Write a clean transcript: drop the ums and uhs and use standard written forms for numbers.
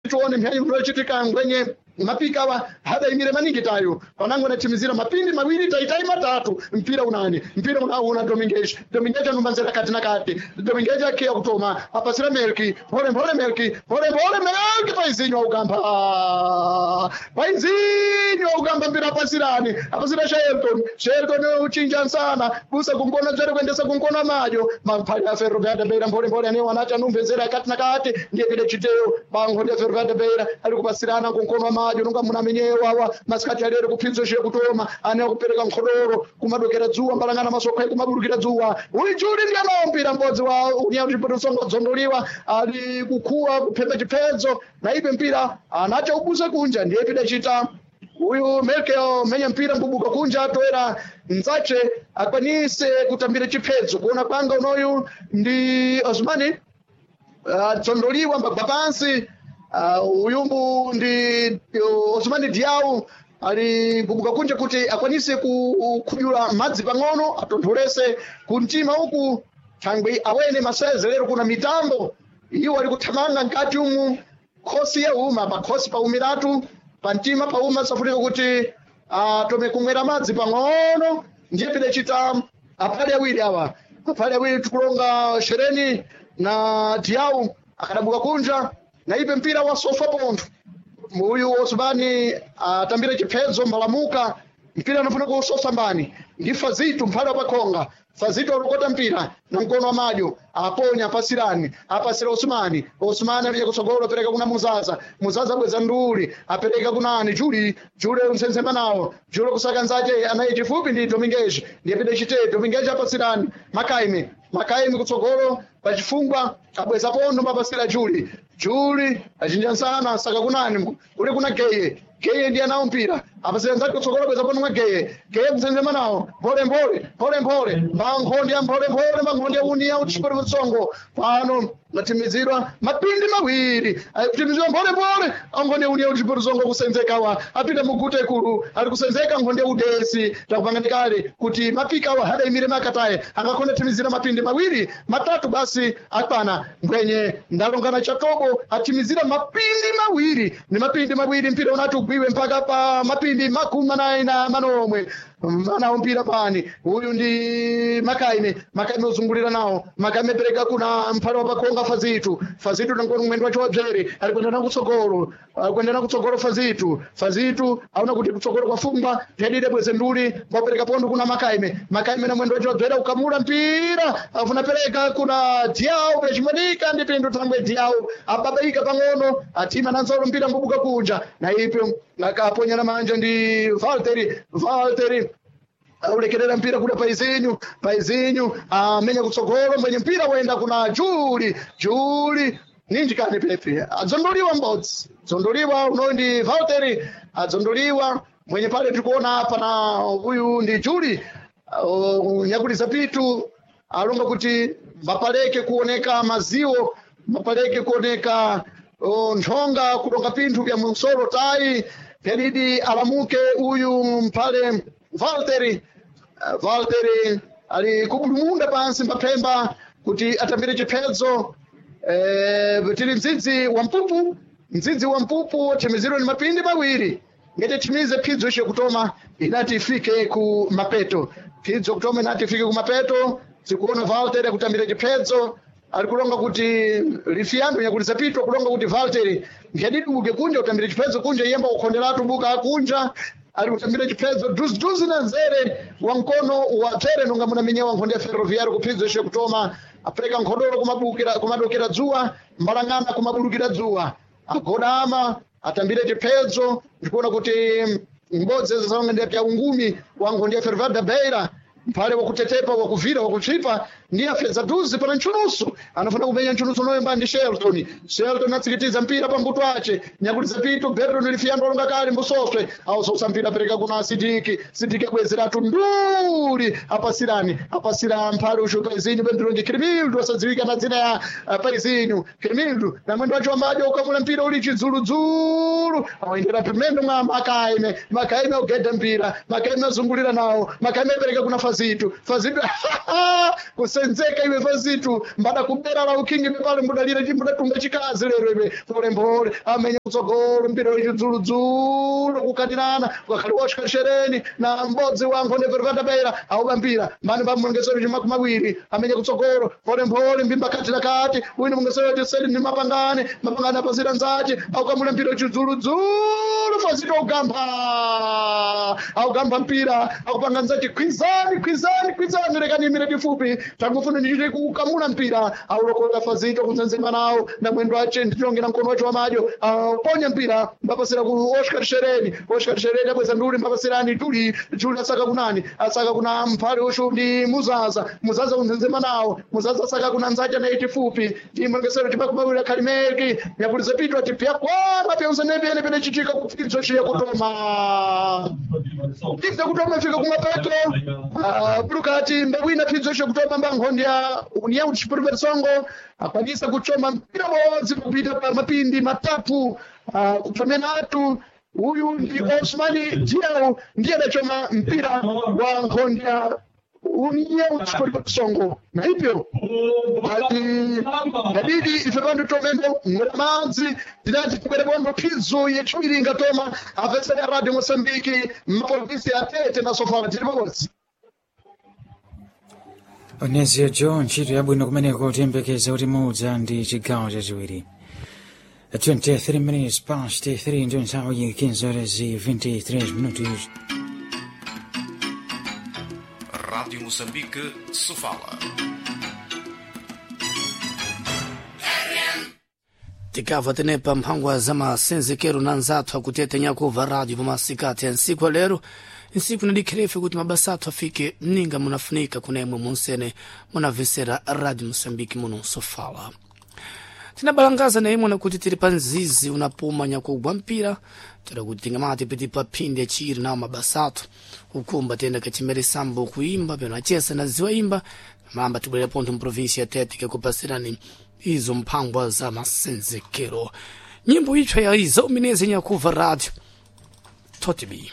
Tione mphyanyi mlochitika ngwenye mapika wa hadaimire maningi tayo panango anatimizira mapindi mawiri taitai matatu mpira unani mpira unauna Dominguez. Dominguez anumbanzira kati na kati. Dominguez akiya kutoma apasira Melki mpole mpole Melki mpole mpole Melki paizinyo ugamba paizinyo ugamba mpira apasirani apasira Shelton. Shelton uchinja sana busa kunkona dzere kuendesa kunkona majo mapali a Ferroviária Beira mpole mpole ane wanacha anumbezera kati na kati ndiye pide chiteo bango ndi Ferroviária Beira ali kupasirana kunkono majo nunga muna menyewa wa masikati alero kuphinzo she kutoma ane kupereka nkhodoro kumadokera dzuwa mbalangana masokha kumaburukira dzuwa uli juli ndi anaombira mbodzi wa unya kuti songo dzondoliwa ali kukhuwa kuphemba chiphedzo na ipe mpira anacha ubusa kunja ndiye pide chita uyu Merkel menya mpira mbubuka kunja atoera mzache akwanise kutambira chiphedzo kuona kwanga unoyu ndi Osmani atsondoliwa mbagwa pansi uyumbu ndi Osmani Diau ali kubuka kunja kuti akwanise kukhudula madzi pang'ono atontholese kumtima uku thangwi awene maseze lero kuna mitambo iwo ali kuthamanga mkati umu khosi yauma pakhosi paumiratu pamtima pauma safunika kuti atome kumwera madzi pang'ono ndiye pidachita aphale awiri awa aphale awiri tikulonga Shereni na Diau akadabuka kunja na ipe mpira wasofa pontho uyu Osmani atambire chiphedzo mbalamuka mpira anafuna kusosa mbani ndi Fazitu mphale wapakhonga. Fazitu alokota mpira na mkono wa madyo aponya apasirani apasira Osmani. Osmani alija kutsogolo apereka kuna Muzaza. Muzaza abweza nduli apereka kunani Juli. Juli unsenzema nawo Juli kusaka nzache anaye chifupi ndi Dominguez ndiye pide chite Dominguez apasirani Makaime. Makaime kutsogolo pachifungwa abweza pondo mapasira Juli. Juli achinja nsana saka kunani uli kuna Geye. Geye ndiye anawo mpira apasira nzake kutsogolo abweza pondo mwa Geye. Geye kusenzema nawo mpole mpole mpole mpole mbankhondi ya mpole mpole mbankhondi ya uniya uchipori mutsongo pano natimizirwa mapindi mawiri akutimizirwa mpole mpole ankhonde uniya uchipori mutsongo kusenzeka wa apita mugute kulu ali kusenzeka nkhonde udesi takupangani kale kuti mapika wa hadaimire makataye angakhonde timizira mapindi mawiri matatu basi akwana mbwenye ndalongana chatobo atimizira mapindi mawiri ni mapindi mawiri mpira unati ugwiwe mpaka pa mapindi 48 na manomwe anawo mpira pani uyu ndi Makaime. Makaime uzungulira nawo Makaime pereka kuna mphale wa pakhonga Fazitu. Fazitu nangono mwendo wacho wabzere ali kuenda na kutsogolo ali kuenda na kutsogolo Fazitu. Fazitu aona kuti kutsogolo kwafungwa tedide bweze nduli mbapereka pondo kuna Makaime. Makaime na mwendo wacho wabzere ukamula mpira afuna pereka kuna Diau pechimonika ndi pindu thangwe Diau ababaika pang'ono atima nanzolo mpira mbubuka kunja na ipo akaponyana manja ndi Valteri. Valteri aulekerera mpira kuda paizinyu paizinyu amenya kutsogolo mwenye mpira waenda kuna Juli. Juli ninji kani pepe adzondoliwa mbodzi dzondoliwa unoyu ndi Valteri adzondoliwa mwenye pale tikuona apa na uyu ndi Juli nyakuliza pitu alonga kuti mapaleke kuoneka maziwo mapaleke kuoneka nthonga kulonga pinthu vya musolo tayi pyadidi alamuke uyu mphale Valteri. Valteri ali kubulumunda pansi mbaphemba kuti atambire chiphedzo tili mdzidzi wa mpupu mdzidzi wa mpupu thimiziro ni mapindi mawiri ngati thimize phidzo icho kutoma inati ifike ku mapeto phidzo kutoma inati ifike ku mapeto tikuona Valteri akutambira chiphedzo ali kulonga kuti lifiyando nyakuliza pito kulonga kuti Valteri ngyadiduke kunja kutambira chiphedzo kunja iyemba kukhonderatu buka kunja ali kutambira chiphedzo duziduzi na nzere wa mkono wa tsere nonga munamenyewa nkhonde ya Ferroviário kuphidzo icho kutoma apereka nkhodoro kumabukira kumadokera dzuwa mbalangana kumabulukira dzuwa agodama atambire chiphedzo ndikuona kuti mbodzi zaonga ndi pya ungumi wa nkhonde ya Ferroviário da Beira mphale wakutetepa wakuvira wakutsvipa ndiye afedza duzi pana ntchunusu anafuna kumenya ntchunusu unoyemba ndi Shelton. Shelton atsikitiza mpira pambuto ace nyakuliza pito Berton lifiyando alonga kale mbusoswe ausosa mpira apereka kuna Sidiki. Sidiki abwezeratu nduli apasirani apasira mphale ushuka izinyu pendulonje Kirimildu asadziwika na dzina ya paizinyu Kirimildu na mwendo wacho wambajo ukamula mpira uli chidzuludzulu awendera pimendo mwa Makaime. Makaime augeda mpira Makaime azungulira nawo Makaime apereka kuna Fazitu. Fazitu kusenzeka iwe Fazitu mbada kubera la ukingi pale mbudalira chimbudatunga chikazi lero iwe pole mpole amenya kutsogolo mpira wechidzuludzulu kukatirana ukakhali Oscar Shereni na m'bodzi wa nkhonde Ferroviária Beira auba mpira mbani pa mulongesero chimakumi awiri amenya kutsogolo mpholemphole mbimba kati na kati wina mulongesero chiseli ndi mapangane mapangane apasira nzache aukamula mpira wechidzuludzulu fazito ugampha augampha mpira akupanga nzache kwizani kwizani kwizani lekani imire difupi tangofuna ndichite kukamula mpira aulokolera fazito kunzenzema nawo na mwendo wache ndichongera mkono wache wamadyo aponya mpira mbapasira ku Oscar Shereni. Oscar Shereni abweza nduli mbapasirani tuli juli asaka kunani asaka kuna mphale ushu ndi muzaza muzaza kunzenzema nawo muzaza asaka kuna nzacha na itifupi ndi mwengesero chimakumawira khalimeki yapulize pitwa tipya kwana pyonse nepene chitika kupfidzo chiya kutoma tipsa kutoma fika kumapeto pulukati mbawina pfidzo chiya kutoma mbankhondi ya União Desportiva de Songo akwanisa kuchoma mpira wodzi kupita pa mapindi matatu kupamena atu uyu ndi Osmani Diao ndiye adachoma mpira wa nkhondi ya União Desportiva de Songo na hivyo ati ngabidi ife pandu tomembo ngwera madzi tinati tikwere bondo phidzo yechiwiri ingatoma apesera Radio Mosambiki mapolisi atete na Sofala tili pamodzi. Onezio Joe ntchito yabwino kumeneko tiyembekeza kuti mudza ndi chigawo chachiwiri. 23 minutes past 3 ndiyo nthawi 15 horas e 23 minutos. Rádio Moçambique, Sofala. Tikava tenepa mphangwa za masenzekero na nzathu akutete nyakuva rádio pamasikati ya nsiku alero nsiku nadikhirefe kuti mabasa athu afike mninga munafunika kunemwe munsene munavesera rádio Moçambique muno Sofala. Tinabalangaza na imwe nakuti tili pa mzizi unapuma nyakugwa mpira tera kuti tingamati piti pa phindi yachiri nawo mabasa athu kukumba tiyenda kachimere sambo kuimba peno achesa na ziwa imba mamba tibwerera pontho mprovinsi ya Tete kekupasirani izo mphangwa za masenzekero nyimbo itsva ya izo mineze nyakuva rádio totibi.